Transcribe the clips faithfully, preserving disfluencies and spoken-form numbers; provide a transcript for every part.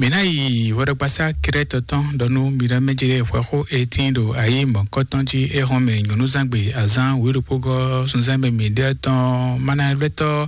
Mǐ ná yi hwɛɖɔgbasá Krɛ́tɔ tɔn ɖɔ nú mi ɖɔ mɛ jí ɖe hwɛxó e tíin ɖo ayi mɔ̌kɔtɔn jí é hɔn mɛ nyɔ̌nuzángbe azán wěɖokpógɔ́ sunzán mɛ mǐ ɖe tɔn manavlɛ́tɔ́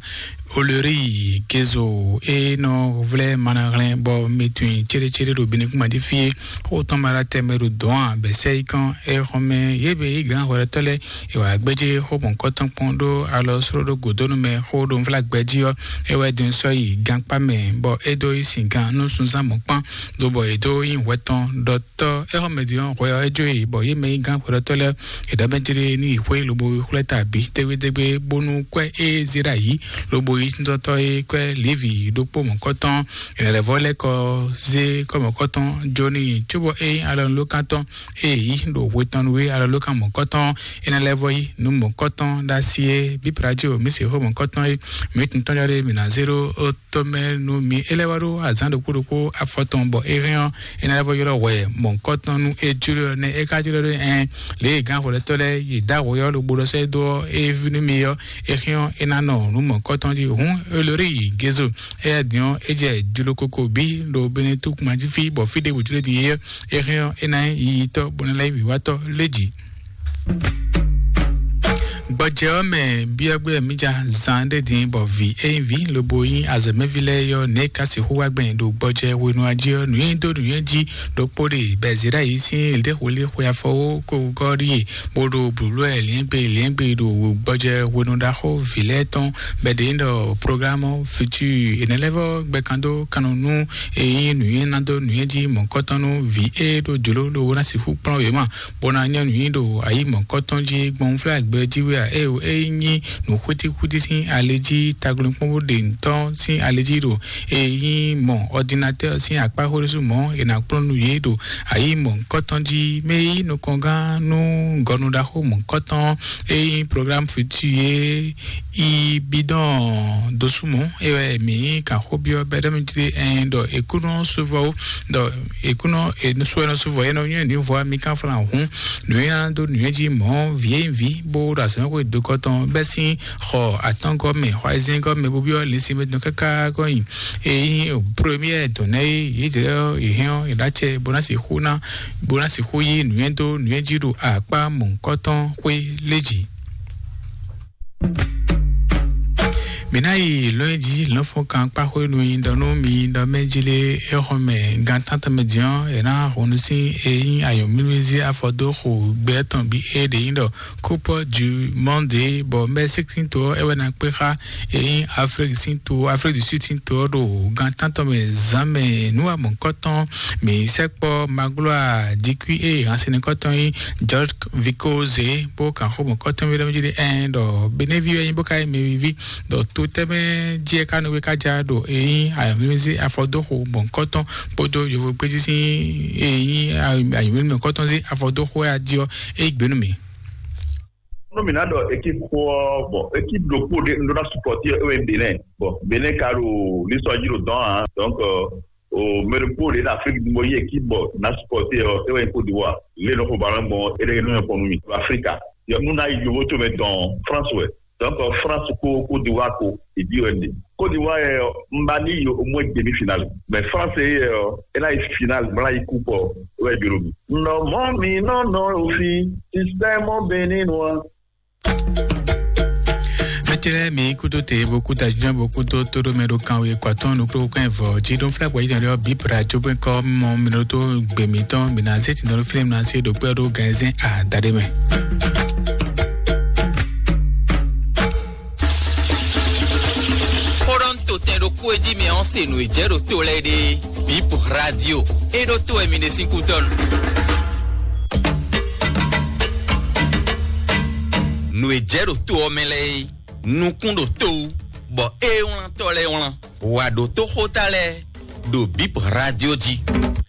Olori Gezo e nɔ vlɛ́ manahlɛn bɔ mi tunwun céɖécéɖé ɖo Benekúnma jí fí é. Xó tɔn ma ɖo atɛ mɛ ɖo dɔ̌n ǎ, bɛ̌ sɛ́ yi kán é hɔn mɛ yě bǐ yí gǎn hwɛɖɔtɔ́ lɛ́ɛ. È wǎ gbéjé xó mɔ̌kɔtɔn kpɔ́n ɖó alɔ sló ɖó gǒdónú mɛ xó ɖo nvlágbɛ́ jí ɔ́, é wɛ din sɔ́ yi gankpá mɛ, bɔ é dó yi sin gan nú sunzán mɔ̌kpán, lobɔ è dó nyi hwɛ tɔn ɖɔtɔ́. É xɔ mɛ din ɔ́, hwɛ ɔ́ é jó yi, bɔ yě mɛ nyí gán xwedɔtɔ́ lɛ́ɛ è ɖɔ mɛ jlé ní yi xwé lobo xwlɛ́ ta bǐ dégbédégbé, bónú kwɛ́ é zé ɖo ayǐ lobo yi síntɔ́tɔ́ é kwɛ́ Levi ɖokpó mɔ̌kɔtɔn. È nɔ lɛ́ vɔ́ lɛ́ kɔ zé kɔ́ mɔ̌kɔtɔn jó n'i, cóbɔ é nyí alɔnulókántɔ́ e yǐ ɖo hwetɔnnu e alɔlókan mɔ̌kɔtɔn é ná lɛ́ vɔ yí nú mɔ̌kɔtɔn ɖo asi é. Bíbradio mǐ se xó mɔ̌kɔtɔn é, mǐ tun tɔn jɔ ɖé mǐ ná zé ɖó ó tɔ́ mɛ nú mi. É lɛ́ wá ɖó azǎn ɖokpó ɖokpó afɔtɔn bɔ é hɛn ɔ́, é ná lɛ́ vɔ ylɔ́ hwɛ mɔ̌kɔtɔn nú é jló ɔ́ nɛ́ é ka jló ɖó ɛn lě e gǎn hwɛɖɔtɔ́ lɛ́ɛ yě dó awǒ ɔ́ ɖo ɖɔ sɛ́ dó ɔ́, é ví nú mi ɔ́, é hɛn ɔ́, é ná nɔ nú mɔ̌kɔtɔn jí. Hǔn Elori yi Gezo, éyɛ́ din ɔ́, é jɛ jlokoko bǐ ɖo Benetúkuma jí fí, bɔ fí ɖěbǔ jló din é, é hɛn ɔ́, é ná nyí yiyitɔ́ bó ná lɛ́ nyí wǐwátɔ́ lé jǐ. Gbɔjɛ ɔ́ mɛ byɔ́gbé mǐ ja zan ɖé din bɔ vǐ e nyí vǐ lobo nyí azɔ̌mɛví lɛ́ɛ yɔ́ nɛ̌ ka sixú wá gbɛn ɖo gbɔjɛ hwenu ɔ́ jí ɔ́, nǔnyiɖó nǔnyijí ɖokpó ɖe bɛzíɖáyǐ sín lěxwlé xwe afɔwó ko gɔ́ ɖíe, bó ɖo blǔblú wɛ liɛ́ngbe liɛ́ngbe ɖo gbɔjɛ hwenu ɖaxó vǐ lɛ́ɛ tɔn bɔ è ɖe ɖɔ programme futur. È nɛ́ lɛ́ vɔ́ gbɛkan dó kannɔ nú e nyí nǔnywɛ́ ná dó nǔnywɛ́ jí mɔ̌kɔtɔn nú vǐ e ɖo jlǒ lobo ná sixú kplɔ́n wěma, bó ná nyɔ́ nǔnywɛ́ ɖo ayǐ mɔ̌kɔtɔn jí gbɔn flágbɛ jí wɛ a? Ée o, é nyí nǔ xwítíxwítí sín ali jí, taglɔ́nkpɔ́n bó ɖe ntɔ́ sín ali jí ɖo e nyí mɔ ordinateur sín akpá xwéɖésú mɔ̌, è nǎ kplɔ́n nú yě ɖo ayǐ mɔ̌kɔtɔn jí. Mɛ e nyí nukɔngán nú gɔnu ɖaxó mɔ̌kɔtɔn e nyí programme futur e yi bidɔn dosúmɔ, é wɛ mǐ kan xó byɔ́ bɛ́ ɖɔ mì jlé ɛn ɖɔ è kú nɔ suvɔ ó, ɖɔ è kú nɔ è nɔ sú ɛ nɔ suvɔ, é nɔ nyɔ́ ní vɔ mì kan flan hǔn nǔnywɛ́ dó nǔnywɛ́ jí mɔ̌ vǐ e nyí vǐ bó ɖo azɔ̌mɛxwé dokɔ tɔn bɛ́ sín xɔ atɔ́ngɔ́ mɛ, xɔ ayizɛ́ngɔ́ mɛ, bó byɔ́ lǐnsin mɛ tɔn káká kɔn nyi. E nyí premier dɔ̌n nɛ́ é yě jɛ yě hɛn ɔ́, yě ɖó acɛ bó ná sixú ná bó ná sixú yí nǔnywɛ́ dó nǔnywɛ́ jí ɖo akpá mɔ̌hunkɔtɔn xwé lé jí. Mǐ ná yi lɔ̌nyijǐ lɔ̌nfɔ́nkan kpáxwé nú nyi ɖɔ nú mi ɖɔ mɛ jí lé é xɔ mɛ gan tántɔn mɛ din ɔ́, è nǎ hun nú sín e nyí ayɔ̌mlúmlú zé afɔ dó xo gbɛ tɔn bǐ é ɖě nyí ɖɔ Coupe du Monde, bɔ Mexique sín to ɔ́ é wɛ ná kpé xá e nyí Afrique sín to, Afrique du Sud sín to ɔ́ ɖo gan tántɔn mɛ zǎn mɛ nú amɔ̌kɔ́tɔn mǐ sɛkpɔ́ Magloire Dikui e hansinɛkɔ́tɔn nyí George Vicoze bó kan xó mɔ̌kɔ́tɔn mì ɖɔ mì jí ɖe ɛn ɖɔ Benevi wɛ nyí bó ka nyí mɛwiví ɖɔ to tɛmɛ jí é ka nɔ wé ka ja ɖo e nyí ayɔ̌mlúmlú zé afɔ dó xo mɔ̌kɔ́tɔn kpódó yovo gbéjí sín e nyí ayɔ̌mlúmlú mɔ̌kɔ́tɔn zé afɔ dó xo wɛ a jí ɔ́, é yí gbe nú mǐ. Nú mǐ ná ɖɔ équipe xó ɔ́, bon, équipe ɖokpó ɖé un ɖó ná supporter ɔ́, é wɛ nyí Bénin. Bon, Bénin ka ɖo lisɔ jí ɖo dɔn ǎ. Donc, euh, o mɛ ɖokpó ɖé ɖo Afrique du Nord yí équipe bɔ ná supporter ɔ́, é wɛ nyí Côte d'Ivoire. Lě nɔ xo ballon gbɔn é ɖé nɔ nyɔ́ kpɔ́n nú mì. Ɖo Afrika. Yɔ nú ná yi yovo to mɛ dɔn France wɛ. Donc, euh, France kó Côte d'Ivoire kó, é ɖi wɛ ɖe. Côte d'Ivoire yɛ, un ba ní yi au moins demi-finale. Mais France yɛ, é ná yi finale, bó ná yi coupe ɔ́, é wɛ jló mì. Nɔ mɔ mi nɔ nɔ òfin système béninois. Mɛtɛlɛ mi kudo te bo kuda jina bo kudo todo mɛ do kan we kwatɔn nuklo kɛn vɔ ji don flɛ kwɛ jina lɛ bi pra jo bɛ kɔ mɔ mi do to gbe mi tɔn mi na se ti nɔ film na se do pɛ do gɛnzɛn a dade mɛ. Xó ɖɔ un to tɛn ɖokpó e jí mi ɔ́ se nǔ e jɛ ɖo to lɛ́ɛ ɖe. Bip Radio, e ɖo to wɛ mi ɖe sín kútɔ́ nu. Nǔ e jɛ ɖo to ɔ́ mɛ lɛ́ɛ é, nukún ɖo to wú, bɔ é wlántɔ́ lɛ́ɛ wlán. Wǎ ɖo toxóta lɛ́ɛ ɖo Bip Radio jí.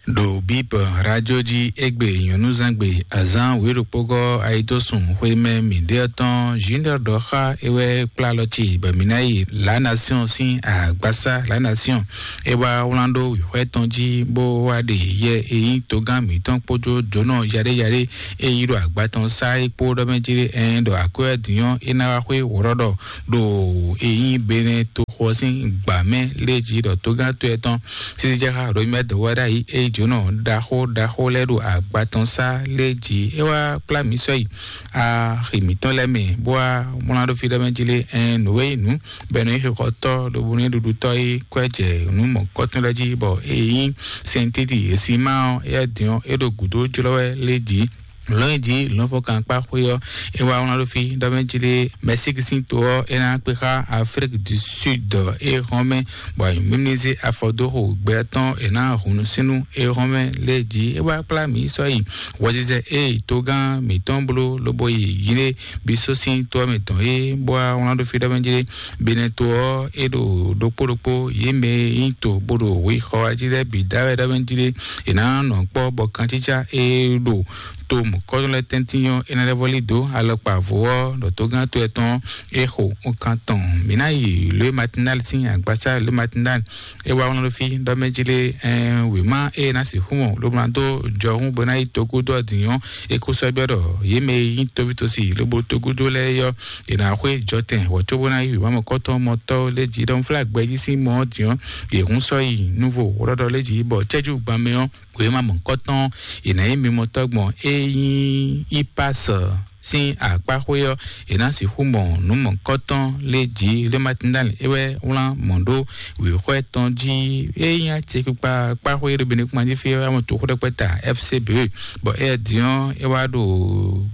Ɖo Bip Radio jí égbé nyɔ̌núzangbe azán wěɖokpógɔ́ ayidósun xwémɛ mǐɖéɔ tɔn Junior ɖɔ xá é wɛ kplá alɔ ci bɔ mǐ ná yi La Nation sín agbásá La Nation. É wá wlán ɖó wǐxwɛ́ tɔn jí bó wá ɖe yɛ e nyí togán mǐtɔn kpódó jǒnɔ yaɖéyaɖé e yi ɖo agba tɔn sá é kpó ɖɔ mɛ jí ɖé ɛn ɖɔ akwɛ́ din ɔ́ é ná wá xwé wǒɖɔɖɔ ɖo e nyí Benɛ́ to xo ɔ́ sín gbǎ mɛ lé jí ɖɔ tógán to ɛtɔn sisi jɛ xá Romɛ dɔwɔɖa yi é jǒnɔ ɖaxó ɖaxó lɛ́ɛ ɖo agba tɔn sá lé jí. É wá kplá mǐ sɔ́ yi axi mǐtɔn lɛ́ɛ mɛ, bó wá mlá ɖó fí ɖɔ mɛ jí lé. Ɛn nǔ e nyí nǔ bɔ é nɔ nyí xixɔtɔ́ ɖo bónú é ɖuɖutɔ́ é kwɛ́ jɛ nǔ mɔ̌kɔtɔn lɛ́ɛ jí, bɔ é nyí sɛntidi e sin má ɔ́, éyɛ́ din ɔ́, é ɖo gǔdo jlɔ́ wɛ lé jí. Lɔ̌nyijǐ lɔ̌nfɔkankpá xwé ɔ́, é wá wlán ɖó fí ɖɔ mɛ jí lé. Mɛsíki sín to ɔ́, é ná kpé xá Afríki du Sud é hɔn mɛ, bɔ ayǐ mímízé afɔ dó xo gbɛ tɔn è nǎ hun nú sínú é hɔn mɛ lé jí. É wá kplá mǐ sɔ́ yi hwɛzizɛ é yi togán mǐtɔn bló lobo yi yilé bí só sín to ɔ́ mɛ tɔn é, bó wá wlán ɖó fí ɖɔ mɛ jí lé. Benɛto ɔ́, é ɖo ɖokpó ɖokpó yě mɛ e nyí to bó ɖo hwi xɔ wá jí lɛ́ɛ bǐ dá wɛ ɖɔ mɛ jí lé. È nǎ nɔ kpɔ́ bɔ kancícá e ɖo to mɔ̌kɔ́nú lɛ́ɛ tɛ́ntin ɔ́, é ná lɛ́ vɔ́ lí dǒ alɔkpa vo ɔ́ ɖɔ tógán to ɛtɔn é xo nkan tɔn. Mǐ ná yi lě matinal sín agbasá lě matinal é wá wlán ɖó fí ɖɔ mɛ jí lé. Ɛn wěma e ná sixú mɔ ló ma dó jɔhún bó ná yi togúdó ɔ́ din ɔ́, é kó sɔ́ byɔ́ ɖɔ yě mɛ e nyí tóvítósi lobo togúdó lɛ́ɛ yɔ́, è nǎ xwé jɔtɛn wɔ cóbó ná yí wěma mɔ̌kɔ́tɔn mɔtɔ́ lé jí ɖɔ un flá gbɛjí sín mɔ ɔ́ din ɔ́, yě hún sɔ́ yi núvo wlɔ́ɖɔ lé jí bɔ cɛ́jú gban mɛ ɔ́, wěma mɔ̌kɔ́tɔn è nǎ nyí mimɔtɔ́ gbɔn é nyí Ipas sín akpáxwé ɔ́, è nǎ sixú mɔ nǔ mɔ̌kɔ́tɔn lé jí lé matindáni é wɛ wlán mɔ̌ ɖó wěxwɛ́ tɔn jí. É nyí acɛkpikpa kpáxwé ɖo Benin kpán jí fí ɔ́, amɔ toxó ɖɛkpɛ ta F C B, bɔ é din ɔ́ é wá ɖo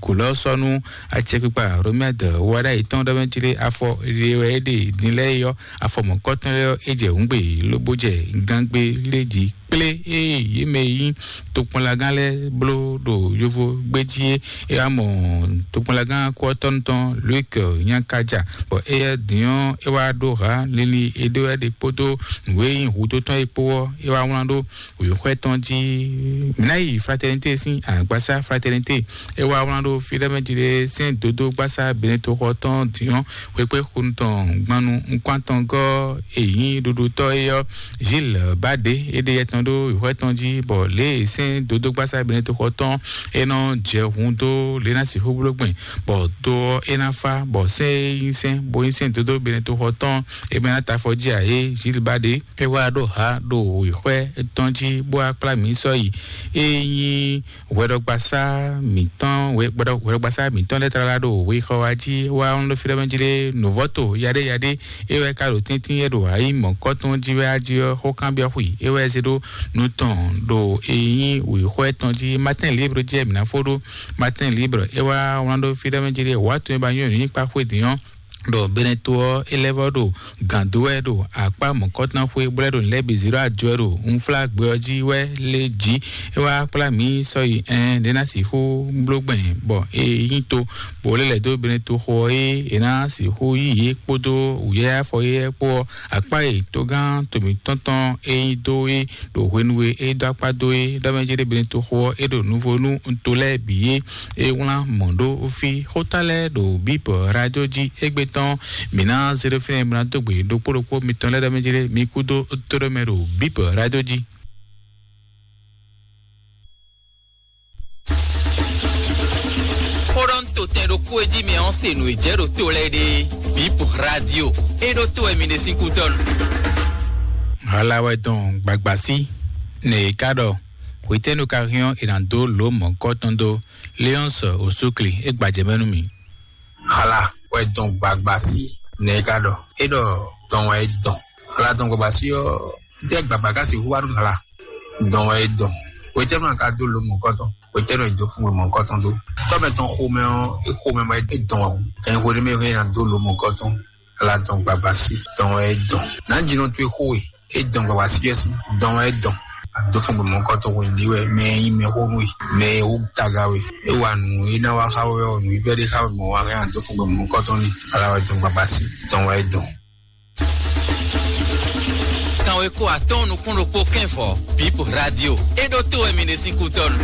gǒ lɔ́ sɔ́ nú acɛkpikpa Romɛd wá ɖ'ayǐ tɔn ɖɔ mɛ jí lé afɔ ɖe wɛ é ɖe din lɛ́ɛ é ɔ́, afɔ mɔ̌kɔ́tɔn lɛ́ɛ ɔ́, é jɛ hǔngbe lobo jɛ gangbe lé jí kplé ée yě mɛ e nyí tokpɔnlagán lɛ́ɛ bló ɖo yovo gbé jí é. É wá mɔ tokpɔnlagán kúɔtɔ́nu tɔn Luke Nyakaja, bɔ éyɛ́ din ɔ́ é wá ɖó hǎ linlin e ɖó wɛ ɖe kpódó nǔ e nyí hudó tɔn é kpó ɔ́, é wá wlán ɖó wěxwɛ́ tɔn jí. Mǐ ná yi Fraternité sín agbasá Fraternité, é wá wlán ɖó fí ɖɔ mɛ jí ɖé sɛ́n dodó gbasá Benetoxɔ tɔn din ɔ́, xwekpé xonu tɔn gbanu nukún atɔngɔ́ e nyí ɖuɖutɔ́ é ɔ́, Gilles Bade é ɖe yɛ tɔn ɖó wěxwɛ́ tɔn jí, bɔ lě e sɛ́n dodó gbasá Benetoxɔ tɔn é nɔ jɛ hun dó lě ná sixú bló gbɛn, bɔ do ɔ́ é ná fá, bɔ sɛ́n e nyí sɛ́n bó nyí sɛ́n dodó Benetoxɔ tɔn é mɛ ná ta afɔ jí ǎ é, Gilles Bade é wá ɖó ha ɖo wěxwɛ́ tɔn jí bó wá kplá mǐ sɔ́ yi. É nyí hwɛɖɔgbasá mǐtɔn hwɛɖɔgbasá mǐtɔn lɛ́ɛ tlala ɖo wexɔ wa jí wá ɔ́n ɖo fí ɖɔ mɛ jí ɖé nǔvɔ́to yaɖé yaɖé é wɛ ka ɖo tɛ́ntin é ɖo ayi mɔ̌kɔ́tɔn jí wɛ á jí ɔ́, xó kanbyɔ́ xwi é wɛ zé ɖó nú tɔn ɖo e nyí wěxɔ tɔn jí. Matin libre jí mǐ ná fó ɖó Matin libre é wá wlán ɖó fí ɖɔ mɛ jí ɖé wǎ tɔn e ba nyɔ́ nǔ nyí kpá xwé din ɔ́, ɖɔ Beneto ɔ́, é lɛ́ vɔ́ ɖo gǎn dó wɛ ɖo akpá mɔ̌kɔtɔn xwé bó lɛ́ ɖo nǔ lɛ́ɛ bǐ zé ɖó ajɔ wɛ ɖo unflágbɛ ɔ́ jí wɛ lé jí. É wá kplá mǐ sɔ́ yi ɛn ɖé ná sixú bló gbɛn bɔ é nyí to, bó lɛ́ lɛ̌ dó Beneto xo ɔ́ é è ná sixú yí yě kpódó wǔyá afɔ yɛ́ kpó ɔ́, akpá e togán to mǐtɔn tɔn é nyí dó é ɖo hwenu e é dó akpá dó é ɖɔ mɛ jí ɖé Beneto xo ɔ́, é ɖo nuvo nú to lɛ́ɛ bǐ é. É wlán mɔ̌ ɖó fí xóta lɛ́ɛ ɖo bíbɔ radio jí égbé tɔn. Mǐ ná zé ɖó fínɛ́ mǐ ná dó gbe ɖokpó ɖokpó mitɔn lɛ́ɛ ɖɔ mɛ jí lé mi kú dó tóɖó mɛ ɖo bíbɔ radio jí. Xó ɖɔ ń to tɛn ɖokpó e jí mi ɔ́ se nǔ e jɛ ɖo to lɛ́ɛ ɖe. Bíbɔ radio é ɖó tó wɛ mi ɖe sín kú tɔn. Hala wɛ dɔn gbagbasi nɛ e ka ɖɔ hwetɛ́nu ka hɛn ɔ́ è nǎ dó lǒ mɔ̌kɔ́ tɔn dó. Léonce Osukli é gbajɛ mɛ nú mì. Xala wɛ dɔn gbagba sí nɛ é ka ɖɔ é ɖɔ dɔn wɛ é dɔn. Xala dɔn gbagba sí ɔ́, títí gbagba ka sixú wá nú xala dɔn wɛ é dɔn. Wetɛ́nu ka dó lo mɔ̌kɔtɔn, wetɛ́nu é dó fún we mɔ̌kɔtɔn dó. Tɔ́mɛ tɔn xomɛ ɔ́, é xomɛ mɔ é dɔn wɛ o. Kɛn xwe ɖé mɛ é ná dó lo mɔ̌kɔtɔn. Xala dɔn gbagba sí dɔn wɛ é dɔn. Nǎ jinɔ towe xó we é dɔn gbagba sí ɔ́ sí dɔn wɛ é dɔn. Àdó fún gbɔmɔ kɔtɔn wɛ ní wɛ mɛ é nyí mɛ xó nú we, mɛ é wú taga we. É wa nǔ é ná wá xá wɛ ɔ́, nǔ yi bɛ́ ɖé xá wɛ mɔ wá hɛn àdó fún gbɔmɔ kɔtɔn ní. Ala wɛ dɔn gbagba sí dɔn wɛ é dɔn. Kanweko atɔ́ɔ́n nukún ɖokpó kɛ́nfɔ Bíp Radio é ɖó tó wɛ mi ɖe sín kútɔ́nu.